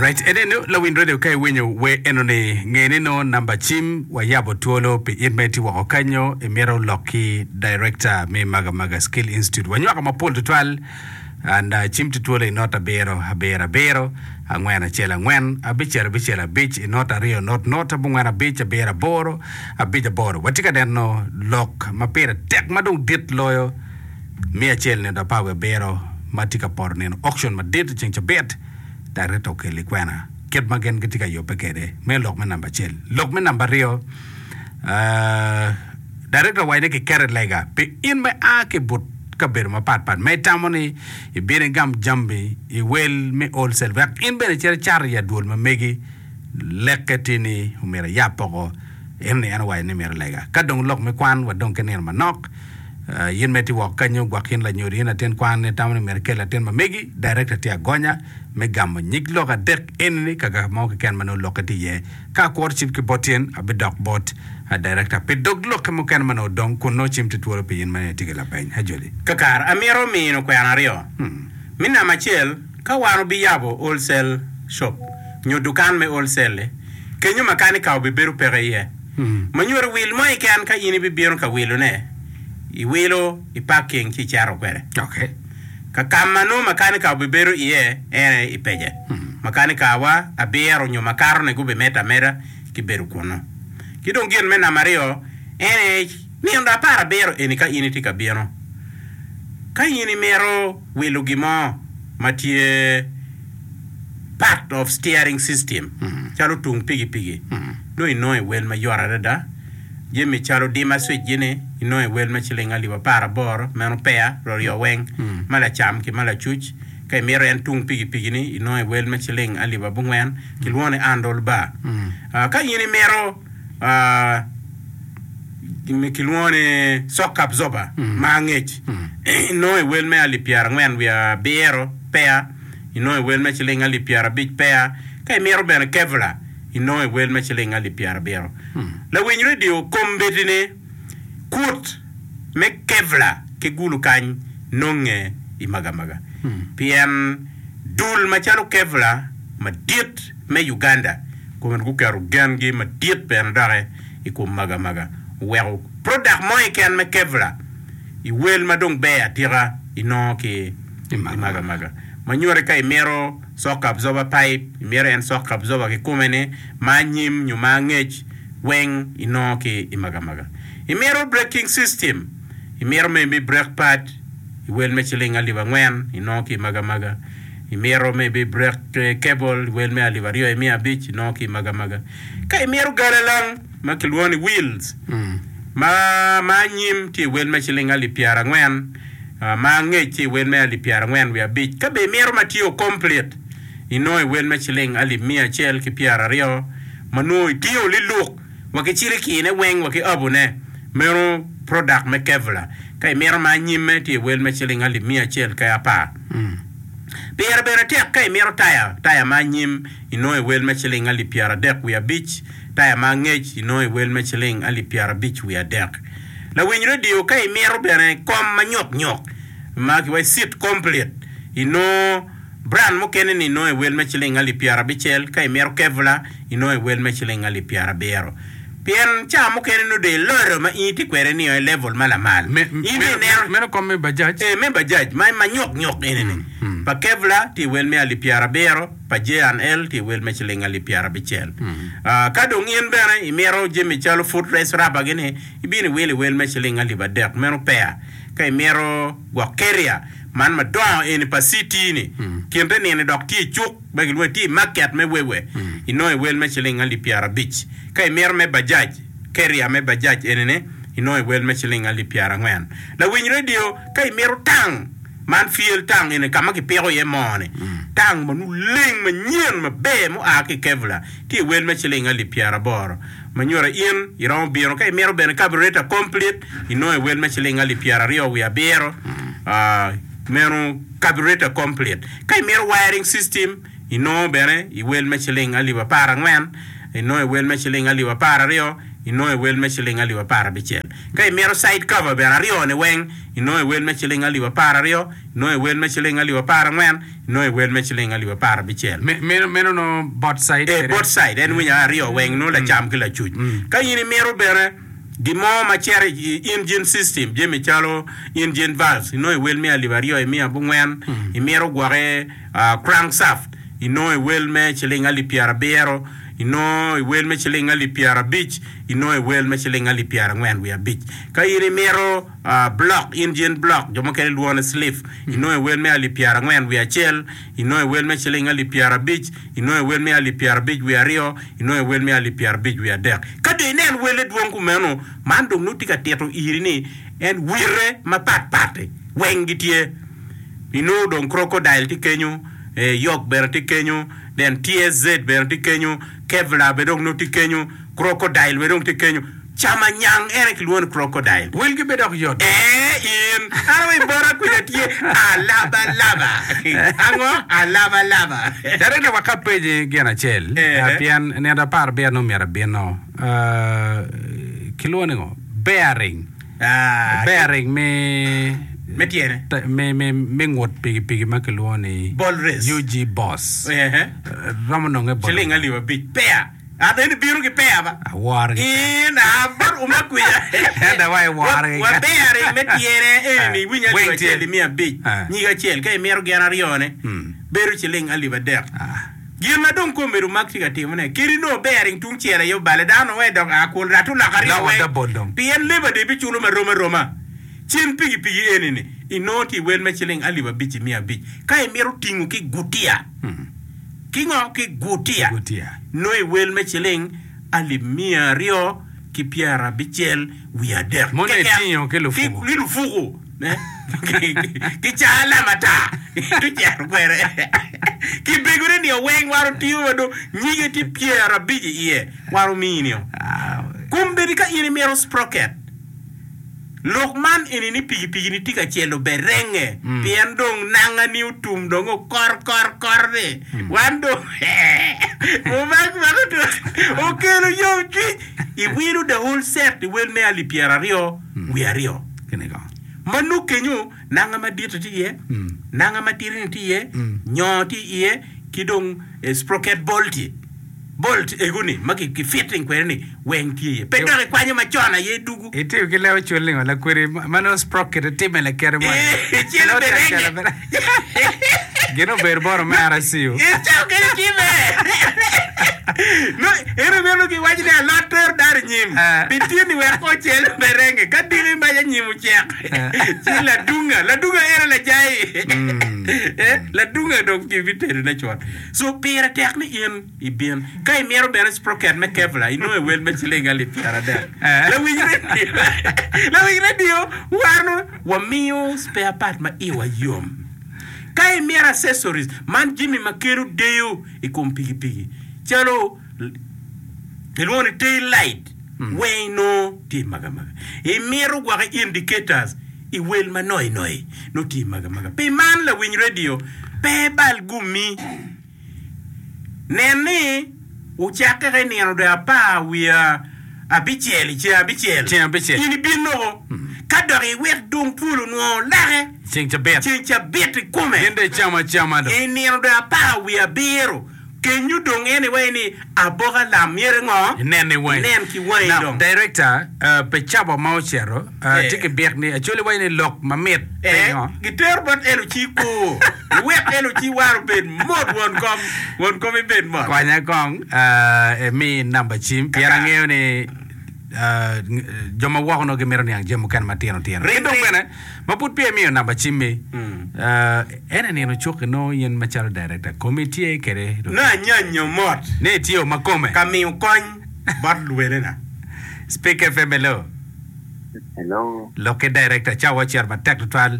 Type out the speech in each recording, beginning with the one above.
Alright, enenu lawiny radio ka iwinyo wer enoni nge ni nongo namba cim wayabo twolo pi in ma itye woko kanyo imito lok ki director me Magamaga Skill Institute. Wanywako mapol tutwal and uh, cim tye twolo i not abiro abiro abiro angwen acel angwen abicel abicel abic i not aryo not not abongwen abic abiro aboro abic aboro. Watye ka neno lok ma pire tek ma dong dit loyo Miya acel nino apar wiye abiro ma tye ka poto nino auction madit i ceng cabit, director okelli kwena kit ma gin gitye ka yubbe kwede. Meno lok me namba acel. Lok me namba aryo, director owaco ni kiketo i lega pi in ma ia ki i but kabedo mapat pat ma itamo ni ibino igam jammi i wel me wholesale wek in bene icit icat i adwol ma megi. Lekke tye ni omyero iyab poko. Eno-ni en owaco ni mito lega. Ka dong lok me kwan wadong ki nino manok, In ma itye woko kenyo, gwok in lanyodo, in latin kwan, itamo ni myero ikel latin ma megi, director tye agonya me gamo nyig lok adek eni-ni ka ka mo keken ma nongo lokke tye iye. Ka akworo cim ki bot in, abidok bot director pi dog lokke mukene ma nongo odong kun nongo cim tye twolo pi in ma nongo itye ki lapeny. Ajoli. Kakare, amito mino kwena aryo. Me namba acel, ka wan obiyabo wholesale shop nyo dukan me wholesale-li, kenyo makanika obibedo peke iye. Ma nyuto wil mo keken ka in ibibino ka wilone, iwilo i parking ci icito kwede. Ka ka ma nongo makanika obibedo iye en aye i pece. Makanikawa abiro nyo makato-ni gubimedde ameda ki bedo kunnu. Ki dong gin me namba aryo en aye nino aparabiro eni ka in itye ka bino, ka in imito wilo gin mo ma tye part of steering system calo tung pikipiki nongo inongo i wel mayot adada. Jami calo dimmer switch gini inongo i wel me ciling alip aparaboro meno peya ryoryo weng ma lacam ki ma lacuc. Ka imito en tung pikipiki ni inongo i wel me ciling alip abongwen kilwongo ni handle bar. Ka in imito kilwongo ni shock absorber ma angec inongo i wel me alip pyerangwen wiye abiro peya. inongo i wel me ciling alip pyerabic peya, ka imito bene Kevlar, inongo i wel me ciling alip pyerabiro. Lawiny redio kombeddi-ni, kut me Kevlar ki gulu kany nonge i Magamaga, pien dul macalo Kevlar madit me Uganda kome guketo gengi madit bene doki i kom Magamaga, oweko product mo keken me Kevlar i wel ma dong ber atika inongo ki i Magamaga. Ma nyuti ka imito shock absorber pipe, imito en shock absorber kikome ni ma anyim nyo ma angec weng inongo ki i Magamaga. Imito braking system, imito maybe brake pad i wel me ciling alip angwen inongo ki i Magamaga. Imito maybe brake cable i wel me alip aryo imiya abic inongo ki i Magamaga. Ka imito galalang ma kilwongo ni wheels ma ma anyim tye i wel me ciling alip pyerangwen ma angec tye i wel me alip pyerangwen wiye abic. Ka bene imito ma tye complete, inongo i wel me ciling alip miya acel ki pyeraryo ma nongo itingo liluk wa ki cilikine weng wa ki abone. Meno product me Kevlar. Ka imito ma anyimme tye i wel me ciling alip miya acel ki apar. Pire bene tek ka imito taya, taya ma anyim inongo i wel me ciling alip pyeradek wiye abic, taya ma angec inongo i wel me ciling alip pyerabic wiye adek. Lawiny redio ka imito bene kom ma nyok nyok ma kiwaco seat complete inongo brand mukene ni inongo i wel me ciling alip pyerabicel ka imito Kevlar inongo i wel me ciling alip pyerabiro pien ca mukene nongo dong iloto ma in itye kwede nio i level ma lamal Me, in dong meno, ineno meno kom me bajaj? Eh, me bajaj ma ma nyok nyok eni ni pa Kevlar tye i wel me alip pyerabiro pa J&L tye i wel me ciling alip pyerabicel. Ah, ka dong in bene imito jami calo foot rest rubber gi ni Ibino iwilo i wel me ciling alip adek, meno peya. Ka imito gwok keria man madongo eni pa CT ni, kinte nini dok tye i cuk ma gilwongo ni tye i market me Wewe, inongo i wel me ciling alip pyerabic. Ka imito me bajaj, keria me bajaj eni ni, inongo i wel me ciling alip pyerangwen. Lawiny radio, ka imito tang man fuel tang eni ka ma kipiko iye moo ni, tang ma nongo leng manyen maber mua ki i Kevlar tye i wel me ciling alip pyeraboro. Ma nyuto in iromo bino ka imito bene carburetor complete inongo i wel me ciling alip pyeraryo wiye abiro meno carburetor complete. Ka imito wiring system inongo bene i wel me ciling alip aparangwen inongo i wel me ciling alip apararyo. inongo i wel me ciling alip aparabicel. Ka imito side cover bene aryo-ni weng, inongo i wel me ciling alip apararyo, inongo i wel me ciling alip aparangwen, inongo i wel me ciling alip aparabicel. Meno meno nongo both side Ee, kede? both side, en winyo aryo weng, nongo lacam ki lacuc. Ka in imito bene gin mo ma cito i engine system, jami calo engine valves, inongo i wel me alip aryo i miya abongwen, imito gwoki crankshaft, inongo i wel me ciling alip pyerabiro, inongo i wel me ciling alip pyerabic, inongo i wel me ciling alip pyerangwen wiye abic. Ka in imito blok, engine block, jo mukene lwongo ni slif, inongo i wel me alip pyerangwen wiye acel, inongo i wel me ciling alip pyerabic, inongo i wel me alip pyerabic wiye aryo, inongo i wel me alip pyerabic wiye adek. Ka dong inen welle dwong kumeno, man dong nongo tye ka tito iri ni en wirre mapatpat-ti weng gitye. Inongo dong crocodile tye kenyo, yok bene tye kenyo, then TSZ bene tye kenyo, Kevlar bene dong nongo tye kenyo, crocodile bene dong tye kenyo. Camanyang en aye kilwongo ni crocodile. Welgi bene dok yot. Ee, in. An aye bota kwija tye alabalaba. Ango? Alabalaba. Director wek apenyi gin acel, Ee. pien nino apar abiro nongo myero abino. Kilwongo ni ngo? Bearing. Ah, Bearing me Me tyene. te- me me me ngut pikipiki ma kilwongo ni Ball race. UG Boss. Ehe. Romo nonge bot Ciling alip abic. Peya. An eni bino ki peya ba. Aworo ki In a bot uma kwica. Ento wa iworo ki Wa bearing me tyene eni ni iwinyo alip Weng tye. acel imiyo abic. Ah. Nyig acel ka imito gin aryone bedo ciling alip adek. Ah. Gin ma dong komedo Mark tye ka timone, kadi nongo bearing tung cel aye obale, dano wee dok a kun rat oloko aryo Loko weng, double dong. pien labor day biculo marom aroma. Cen pikipiki eni-ni inongo tye i wel me ciling alip abic i miya abic. Ka imito tingo ki gutiya, ki ngo? Ki gutiya, Gutiya. nongo i wel me ciling alip miya aryo ki pyerabicel wiye adek Mono keken. itingo ki lufuku. Ki lufuku. Ki caa lam ata tucero kwede. Ki begone nio weng wan otingo wa dong nyige tye 50 i iye wan ominio. Kombeddi ka in imito sprocket, lok man eni ni pikipiki ni tye ka celo berenge pien dong nanga ni otum dong okor kor kor ni wan dong omak mak okelo yomcwiny iwilo the whole set i wel me alip 20 wiye aryo. Ma nongo kenyo nanga madito tye iye, nanga matidi-ni tye iye, nyo tye iye, ki dong sprocket bolt-ti, bolt ego-ni ma ki fitting kwede-ni weng tye iye. Pe dok ikwanyo macon aye dugu. Itiyo ki leb acol ningo lakwedi ma nongo sprocket itime lakite mo Ee, celo bene renge. Gin obedo bot omera ciu. Icako kede time. No, ento meno giwaco ni alot tero dano i nyim. Eh. Pi tyeni wek ocel berenge. Ka diki mac anyim ocek, ci ladunga, ladunga en aye lajai. Eh, ladunga dong kibitedone cut. So pire tek ni in ibin. Ka imito bene sprocket me Kevlar, inongo i wel me ciling alip 30. Eh. Lawiny radio, lawiny radio, wan wamiyo spare part ma iwa yom. Ka imito accessories, man jami ma kelo deyo i kom pikipiki calo kilwongo ni tail light weng inongo tye i magamaga. Imito gwoko indicators i wel ma noi noi nongo tye i magamaga. Pi man lawiny radio pe ibal gummi. Nen ni wucakke ka i nino dwe apar wiye abicel i ceng abicel, Ceng abicel. in ibin loko, ka dok iwek dong twol onwongo lake Ceng cabit. ceng cabit kikome Gin dong icamo acama dong. i nino dwe apar wiye abiro, kenyo dong en iwaci ni aboka lam myero ngo? Inen ni wangi. Inen ki wangi Now, dong. director, uh, pe cawa ma ocito, uh, Eh. tye ki byek ni Acholi waci ni lok mamit Eh, pingo? gitero bot Eloci kur. Iwek Eloci war obed mot won kom, won kom ibed mot. Konya kong uh, imi namba cim pien Kaka. angeyo ni uh, jo ma woko nongo gimito niang jami mukene matino tino. Ring, Ki dong ring. bene ma pud peya imiyo namba cimmi, uh, en aye nino cuk inongo in macalo director komi tye kwede Nongo anyanyo mot ni itye ma kome. ka miyo kony bot luwelena. Speak FM hello. Hello. Lok ki director cawa ocito matek tutwal.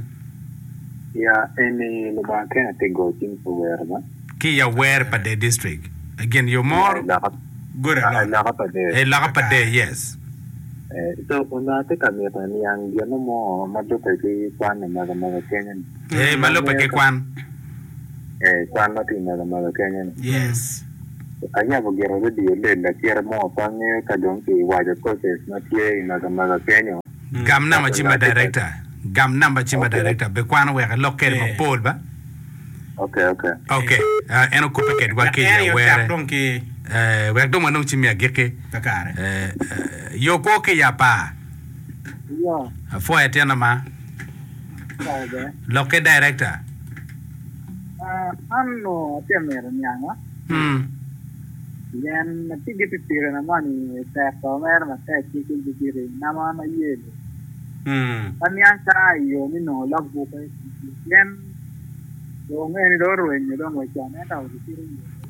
Ya eni Lubanga kene tye goyo cing pi wer ba. Ki i awer pa Dee District. Gin yo Ya mor. i loka Good ah, i alot. loka pa Dee. I loka pa Dee, yes. Eh, so onongo atye ka mito niang gin mo ma lubbe ki kwan i mego mego kenyo ni. Eh, ma lubbe ki kwan. Eh, kwan ma tye i mego mego kenyo ni. Yes. Ayabo gire radio lel lakite mo pe angeyo ka dong ki waco courses ma tye i Magamaga kenyo. Gam namba cim pa director. Gam namba cim pa director be kwano wek elok kede mapol ba. Ok ok. Ok en okubbe kedwa ki i awere. Wek dong wanong cim me agikki. Yo kwo ki i apar. Apwoyo atyena ma. Lok ki director. An onongo atye ka mito nianga pien atye ki pikipikina moni tek mere matek ki pikipiki nama an aye iye. Aniang ka i yo me nongo log bukke pien dong eni dong orwenyo dong wa con ento gicito i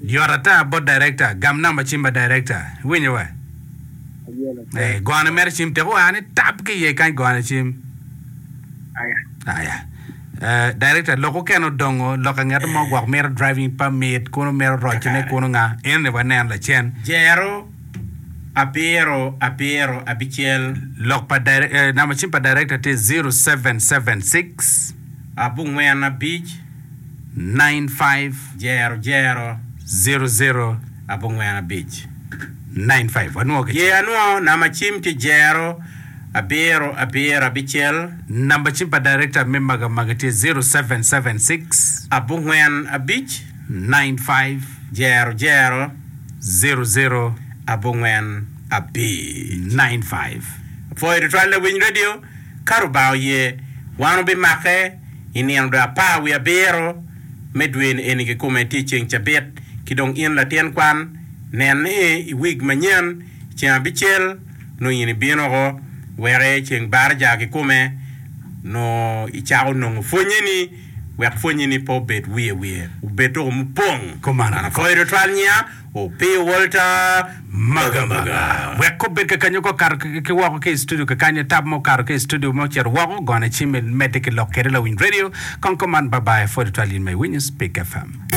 yo. Yot ata bot director, gam namba cim pa director. Iwinyo wa? Aye lacen. Gone mere cim tek oa ni tap ki iye kany gone cim. Aya. Aya. Director, lok okene odongo, lok angeto mo gwok mito driving permit, kunu mito rocone kunu nga, eno ni waneno lacen. Jero abiro abiro abicel. Lok pa namba cim pa director tye 0776. Abongwen abic. 95. Jero jero. 00. Abongwen abic. 95. Wanwo ki Ye anwo namba cim tye jero abiro abiro abicel. Namba cim pa director me Magamaga tye 0776. Abongwen abic. 95. Jero jero. 00. Abongwen abic. 95. Apwoyo tutwal lawiny radio, ka Rubanga oye, wan wubimake i nino dwe apar wiye abiro me dwe ni eni kikome tye ceng cabit, ki dong in latin kwan, nen ni i wig manyen ceng abicel nongo in ibino oko wek ceng baraja kikome nongo icako nongo pwonye ni wek pwonye ni pe obed wiye wiye obed doko mupong. Kumano. An apwoyo tutwal nya Opiyo Walter Magamaga. Wek obed kakanyo ka okato ki woko ki i studio kakanyo tab ma okato ki i studio ma ocito woko gone cim imedde ki lok kede lawiny radio kong kuman bye bye apwoyo tutwal in ma iwinyo Speak FM.